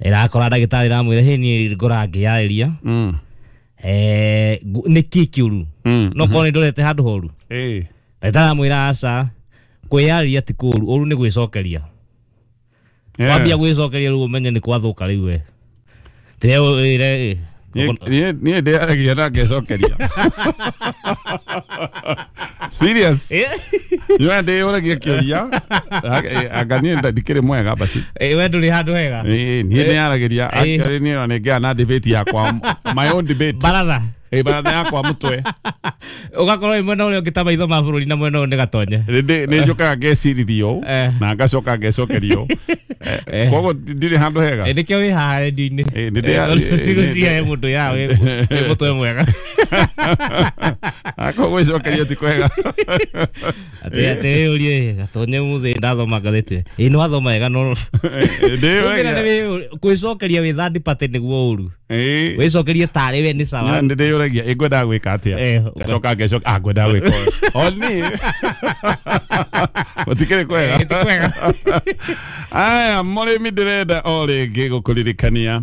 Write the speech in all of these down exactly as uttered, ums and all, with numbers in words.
Ĩrakora ndagĩtarĩ ĩramwĩra hĩ niĩ ngora ngĩyarĩria Mm. eh ngu- nĩ kĩ kĩũru Mm. no korwo nĩ ndorete handũ horu. Ĩĩ. Ndagĩtarĩ aramwĩra aca, kwĩyarĩria ti kũũru, ũru nĩ gwĩcokeria. Yeah. Wambia gwĩcokeria rĩu ũmenye nĩ kwathũka rĩu we tĩre ĩre. Niĩ- niĩ niĩ ndĩaragia na ngecokeria serious niĩ ndĩyũragia kĩũria. Anga niĩ nda- ndikĩrĩ mwega basi. We ndũrĩ handũ hega. Ĩĩ, niĩ ndĩyaragĩria. Ĩĩ. Actually niĩ ona nĩngĩaga na debate yakwa, my own debate. Baratha. Ĩĩ, baratha yakwa mũtwe. Ũgakorwo wĩ mwena ũrĩa ũngĩ ta maitho ma bũrũri na mwena ũyũ nĩ gatonye. Nĩ nĩ njũkaga ngecirithio Eh. na ngacoka ngecokerio. Eh. Koguo ndirĩ handũ hega. Eh, nĩkĩo wĩ haha redio-inĩ. Ĩĩ, nĩ ndĩa- Nĩgũcihe mũndũ ya wĩ wĩ mũtwe mwega. Akorwo gwĩcokeria ti kwega. Atĩ atĩ wĩyũrie gatonye mũthĩ ndathoma ngathĩti ĩ nĩ wathoma wega no Ndĩyũragia. Kwĩcokeria wĩ third party nĩguo ũru. Ĩĩ. Wĩcokerie tarĩ we nĩ sawa. Nĩ ndĩyũragia ĩ ngwendaga gwĩka atĩa, Eh, ngacoka ngecoka ah ngwendaga gwĩka ũyũ o niĩ gũtikĩrĩ kwega. Eh, ti kwega. Aya mũrĩmi, ndĩrenda o rĩngĩ gũkũririkania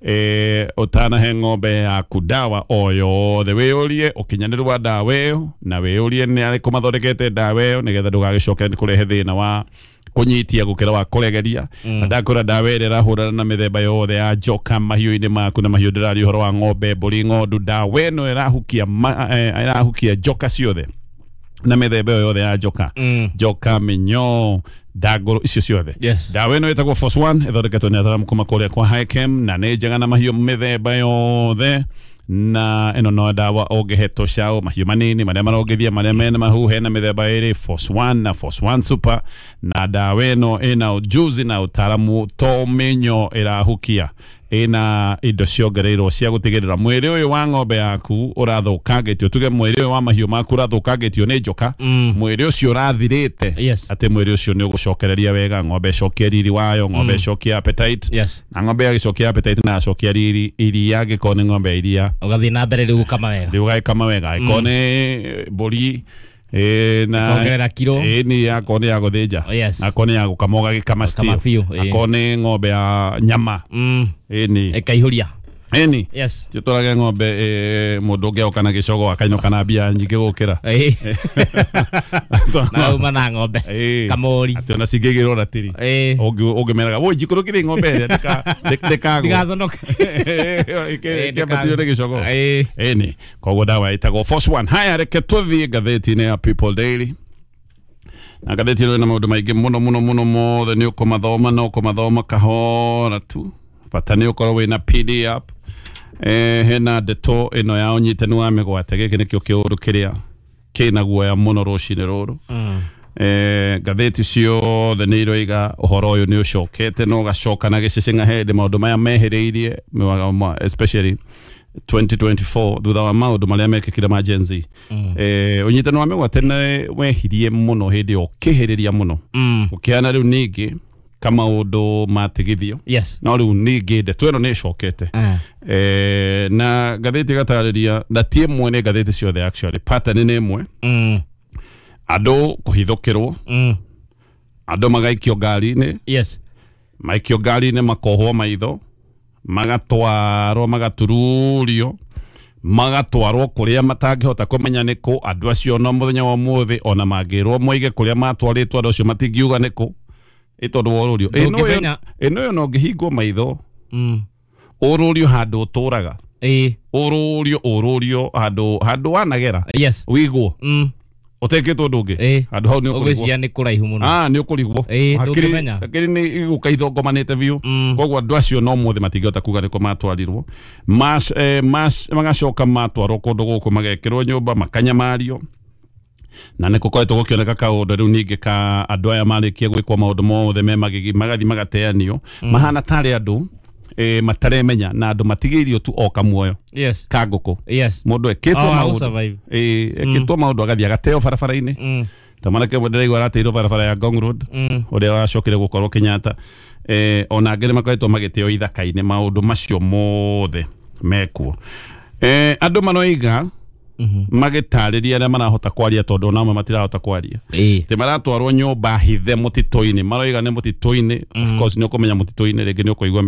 eh, ũtanahe ng'ombe yaku ndawa o yothe, wĩyũrie ũkinyanĩru wa ndawa ĩyo na wĩyũrie nĩ arĩkũ mathondekete ndawa ĩyo, nĩgetha ndũgagĩcoke nĩ kũrehe thĩna wa kũnyitia gũkĩra wa kũregeria. Na ndakũra ndawa ĩrĩa ĩrahũrana na mĩthemba yothe ya njoka mahiũ-inĩ maku, na mahiũ ndĩraria ũhoro wa ng'ombe, mbũri, ng'ondu. Ndawa ĩno ĩrahukia ma, eh, ĩrahukia njoka ciothe na mĩthemba ĩyo yothe ya njoka, Mm. njoka, mĩnyoo, ndangũrũ, icio ciothe. Yes. Ndawa ĩno ĩtagwo Force One, ĩthondeketwo nĩ ataramu kuma kũrĩa kwa Hikem, na nĩ njega na mahiũ mĩthemba yothe. Na ĩno no ndawa ũngĩhe tũcaũ, mahiũ manini, marĩa marongithia, marĩa mena mahu. Hena mĩthemba ĩrĩ, Force One na Force One Super, na ndawa ĩno ĩna ujuzi na ũtaramu to mĩnyo ĩrahukia, ĩna indo ciongereirwo cia gũtigĩrĩra mwĩrĩ ũyũ wa ng'ombe yaku ũrathũkangĩtio, tuge mwĩrĩ ũyũ wa mahiũ maku ũrathũkangĩtio nĩ njoka, Mm. mwĩrĩ ũcio ũrathirĩte, Yes. atĩ mwĩrĩ ũcio nĩ ũgũcokereria wega, ng'ombe ĩcokie riri wayo, ng'ombe ĩcokie appetite. Yes. Na ng'ombe yagĩcokia appetite na yacokia riri, iria angĩkorwo nĩ ng'ombe ya iria, ũgathiĩ na mbere rĩu gũkama wega. Rĩu ũgagĩkama wega. Angĩkorwo nĩ mbũri ĩ, na Ĩkongerera kiro. Ĩ nĩ akorwo nĩ ya gũthĩnja, Oh, yes. akorwo nĩ ya gũkama ũgagĩkama still. Gũkama biũ, ĩ. Akorwo nĩ ng'ombe ya nyama, Mm. ĩ nĩ ĩkaihũria. Ĩ nĩ Yes. tũtwarage ng'ombe ĩ, mũndũ ũngĩ oka na gĩcogo akainũka na mbia nyingĩ gũkĩra. Ĩ. Na uma na ng'ombe Ĩ. kamori. Atĩ ona cingĩigĩrwo ratiri, Ĩ. ũngĩmeraga woi njikũrũkĩrie ng'ombe ĩrĩa ndĩka- ndĩ- ndĩkagwo. Ndigaconoke. Ĩ, Kĩambatĩrio nĩ gĩcogo. Ĩ. Ĩni koguo ndawa ĩtagwo Force One. Haya, reke tũthiĩ ngathĩti-inĩ ya People Daily, na ngathĩti ĩno ĩna maũndũ maingĩ mũno mũno mũno. Mothe nĩ ũkũmathoma na ũkũmathoma kahora tu, bata nĩ ũkorwo wĩna P D F. eh, hena ndeto ĩno ya ũnyitani wa mĩgwate. Gĩkĩ nĩkĩo kĩũndũ kĩrĩa kĩna guoya mũno rũcinĩ rũrũ. Mm. eh, ngathĩti ciothe nĩ iroiga ũhoro ũyũ nĩ ũcokete na ũgacoka na gĩcĩcĩng'a hĩndĩ maũndũ maya mehĩrĩirie mĩwaga- ma- especially twenty twenty-four thutha wa maũndũ marĩa mekĩkire ma Gen Z. Mm. eh, ũnyitani wa mĩgwate nĩ wehirie mũno hĩndĩ ĩyo, ũkĩhĩrĩria mũno, Mm. ũkĩhana rĩu ningĩ kamaũndũ matigithio. Yes. No rĩu ningĩ ndeto ĩno nĩ ĩcokete. Eh. eh, na ngathĩti ĩgatarĩria, na ti ĩmwe, nĩ ngathĩti ciothe actually, pattern nĩ ĩmwe. Mm. Andũ kũhithũkĩrwo, Mm. andũ magaikio ngari-inĩ, Yes. maikio ngari-inĩ makohwo maitho, magatwarwo, magatururio, magatwarwo kũrĩa matangĩhota kũmenya nĩ kũ. Andũ acio no mũthenya wa ũmũthĩ ona mangĩrwo moige kũrĩa matwarĩtwo, andũ acio matingiuga nĩ kũ, ĩ tondũ wa ũrũrio. Ĩ no ũyũ- Ndũngĩmenya. Ĩ no ũyũ no ũngĩhingwo maitho, Mm. ũrũrio handũ ũtũraga, Ĩ. ũrũrio ũrũrio handũ handũ wanagera, Yes. wigwo Mm. ũtekĩtwo ũndũ ũngĩ, Ĩ. handũ hau nĩ ũkũrigwo. Ũgwĩciria nĩ kũraihu mũno. Ah, nĩ ũkũrigwo. Ĩ, Hakiri- ndũngĩmenya. Hakiri nĩ igũka ithongomanĩte biũ. Mm. Koguo andũ acio no mũthĩ matingĩhota kuga nĩkũ matwarirwo. Mas, eh, mas, magacoka matwarwo kũndũ gũkũ, magekĩrwo nyũmba, makanyamario, na nĩ gũkoretwo gũkĩoneka kaũndũ rĩu ningĩ ka andũ aya marĩkia gwĩkwo maũndũ mothe me magigi, magathiĩ magateanio, mahana tarĩ andũ eh, mataremenya, na andũ matigĩirio tu o kamuoyo Yes. ka ngũkũ. Yes. Mũndũ ekĩtwo Oh, maũndũ, survive. ĩ ekĩtwo maũndũ, agathiĩ agateo barabara-inĩ, Mm. ta mwanake ũmwe ndĩraigua arateirwo barabara ya Ngong Road, Mm. ũrĩa wacokire gũkorwo Kenyatta. eh, ona angĩ nĩ makoretwo magĩteo ithaka-inĩ. Maũndũ macio mothe mekuo. eh, andũ maroiga Mhm. magĩtarĩria arĩa marahota kwaria, tondũ ona amwe matirahota kwaria, Ĩ. atĩ maratwarwo nyũmba hithe mũtitũ-inĩ. Maroiga nĩ mũtitũ-inĩ. Of course nĩ ũkũmenya mũtitũ-inĩ rĩngĩ nĩ ũkũigua.